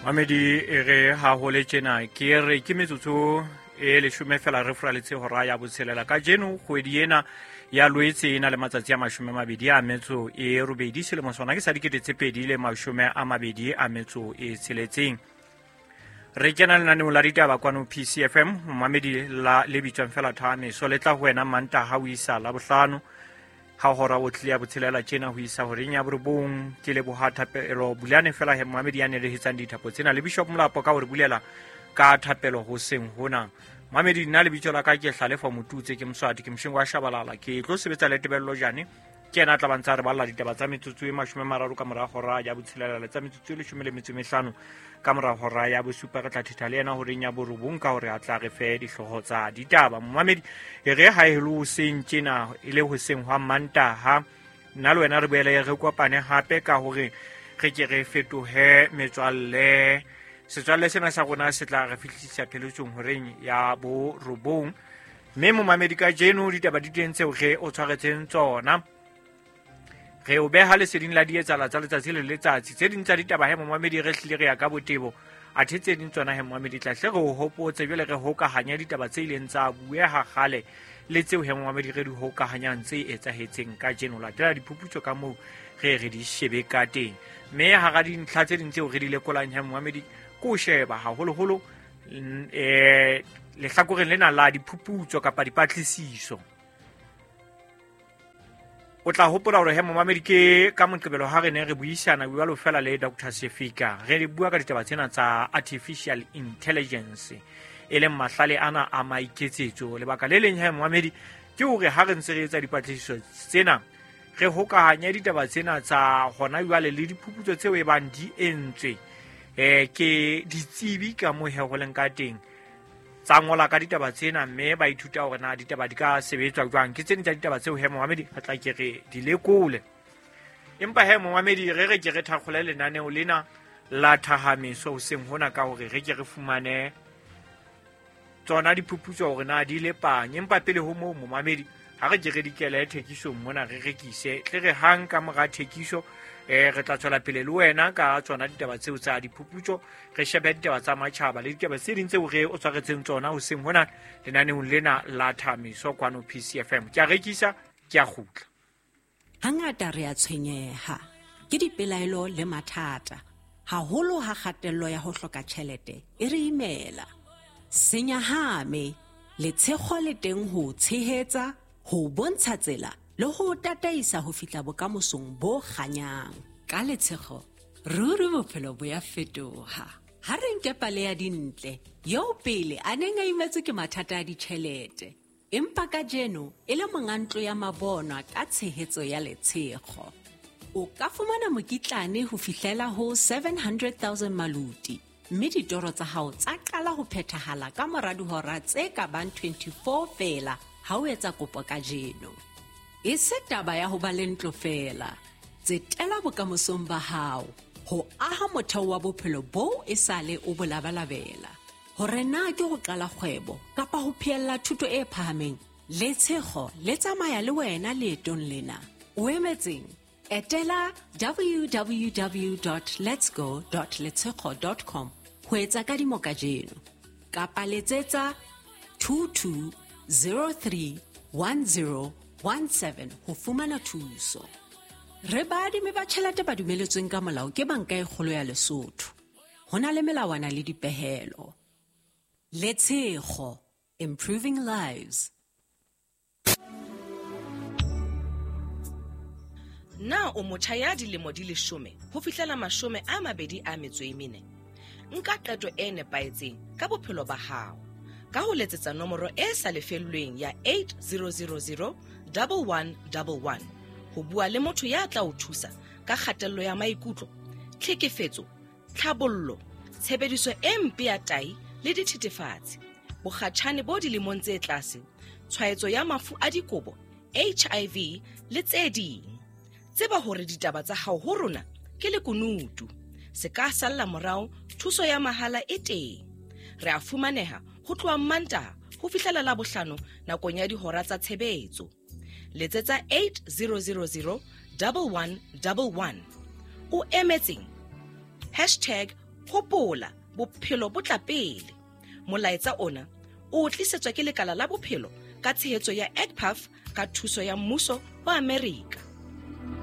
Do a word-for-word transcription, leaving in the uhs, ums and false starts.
Mamedi e re ha ho le tjena ke re ke metsotso e leshome fela re furaletse hora ya botshelela kajeno kgwedi ena ya Loetse e na le matsatsi a mashome a mabedi a metso e robedi selemo sona ke sa dikete tse pedi le mashome a mabedi a metso e tsheletseng. Re kena lenaneong la ditaba kwano P C F M mamedi la le bitswang fela Thameso le tla ho wena Mantaha ho isa Labohlano ha hora o tlile ya botshelela tjena ho isa horeng ya borobong. Ke leboha thapelo Bulane fela he mamedi ya nelehetsang dithapo tsena le Bishop Molapo ka hore bulela ka thapelo hoseng hona. Mamedi nna lebitso la ka ke Hlalefa Motutse ke Moswati ke Moshengo wa Shabalala ke tlo sebetsa le Tebello Jane ke yena a tla ba ntsa re balla ditaba tsa metsotso e mashome a mararo ka mora hora ya botshelela le tsa metsotso e leshome le metso e mehlano ka mora hora ya bosupa. Re tla thetha le yena horeng ya borobong ka hore a tla re fe dihlooho tsa ditaba. Momamedi e re ha e le hoseng tjena e le hoseng hwa Mantaha nna le wena re boele re kopane hape ka hore re ke re fetohe metswalle. Setswalle sena sa rona se tla re fihlisa pheletsong horeng ya borobong. Mme momamedi kajeno ditaba di teng tseo re o tshwaretseng tsona. Re o beha leseding la dietsala tsa letsatsi le letsatsi. Tse ding tsa ditaba he momamedi re hlile re ya ka botebo. Athe tse ding tsona he momamedi tla hle re o hopotse jwale re hokahanya ditaba tse ileng tsa bueha kgale le tseo he momamedi re di hokahanyang tse etsahetseng kajeno. Latela diphuputso ka moo re re di shebe ka teng. Mme hara dintlha tse ding tseo re di lekolang he momamedi ko sheba haholoholo eh lehlakoreng lena la diphuputso kapa dipatlisiso. O tla hopola hore he momamedi ke ka Moqebelo ha re ne re buisana jwalo fela le Doctor Sefika re bua ka ditaba tsena tsa artificial intelligence e leng mahlale ana a maiketsetso. Lebaka le leng he momamedi ke hore ha re ntse re etsa dipatlisiso tsena re hokahanya ditaba tsena tsa hona jwale le diphuputso tseo e bang di entswe eh ke ditsebi ka moo he ho leng ka teng tsa ngola ka ditaba tsena mme ba ithuta hore na ditaba di ka sebetswa jwang. Ke tse ding tsa ditaba tseo he momamedi re tla ke re di lekole. Empa he momamedi re re ke re thakgole lenaneo lena la Thahameso hoseng hona ka hore re ke re fumane tsona diphuputso hore na di lepang. Empa pele ho moo momamedi ha re ke re dikele thekisong mona re rekise tle re hang ka mora thekiso eh re tla tswela pele le wena ka tsona ditaba tseo tsa diphuputso re shebe ditaba tsa matjhaba le ditaba tse ding tseo re o tshwaretseng tsona hoseng hona lenaneong lena la Thameso kwano P C F M. Ke a rekisa ke a kgutla. Hangata re a tshwenyeha ke dipelaelo le mathata haholo ha kgatello ya ho hloka tjhelete e re imela. Senyahame letshego le teng ho tshehetsa ho bontsha tsela le ho tataisa ho fihla bokamosong bo kganyang. Ka letshego ruri bophelo bo ya fetoha. Ha re nke pale ya Dintle eo pele a neng a imetswe ke mathata a ditjhelete empa kajeno e le monga ntlo ya mabonwa ka tshehetso ya letshego. O ka fumana mokitlane ho fihlela ho seven hundred thousand maluti mme ditoro tsa hao tsa qala ho phethahala ka mora dihora tse ka bang twenty-four feela ha o etsa kopo kajeno. E se taba ya ho ba le ntlo feela, tsetela bokamosong ba hao ho aha motheo wa bophelo boo e sale o bo labalabela. Hore na ke ho qala kgwebo kapa ho phehella thuto e phahameng, letshego le tsamaya le wena leetong lena. O emetseng? Etela w w w dot letsgo dot letshego dot com ho etsa kadimo kajeno kapa letsetsa two two zero three one zero one seven ho fumana thuso. Re baadimi ba tjhelete ba dumeletsweng ka molao ke Banka e Kgolo ya Lesotho. Ho na le melawana le dipehelo. Letshego, improving lives. Na o motjha ya dilemo di leshome ho fihlela mashome a mabedi a metso e mene? Nka qeto e nepahetseng ka bophelo ba hao ka ho letsetsa nomoro e sa lefellweng ya eight zero zero zero one one one one ho bua le motho ya tla o thusa ka kgatello ya maikutlo, tlhekefetso, tlhabollo, tshebediso e mpe ya tai le dithethefatsi, bokgatjhane bo dilemong tse tlase, tshwaetso ya mafu a dikobo, H I V le tse ding. Tseba hore ditaba tsa hao ho rona ke lekunutu. Se ka salla morao, thuso ya mahala e teng. Re a fumaneha ho tloha Mantaha ho fihlela Labohlano nakong ya dihora tsa tshebetso. Letsetsa eight zero zero zero one one one one. O emetseng? Hashtag Hopola, bophelo bo tla pele. Molaetsa ona o tlisetswa ke lekala la bophelo ka tshehetso ya E G P A F ka thuso ya mmuso wa Amerika.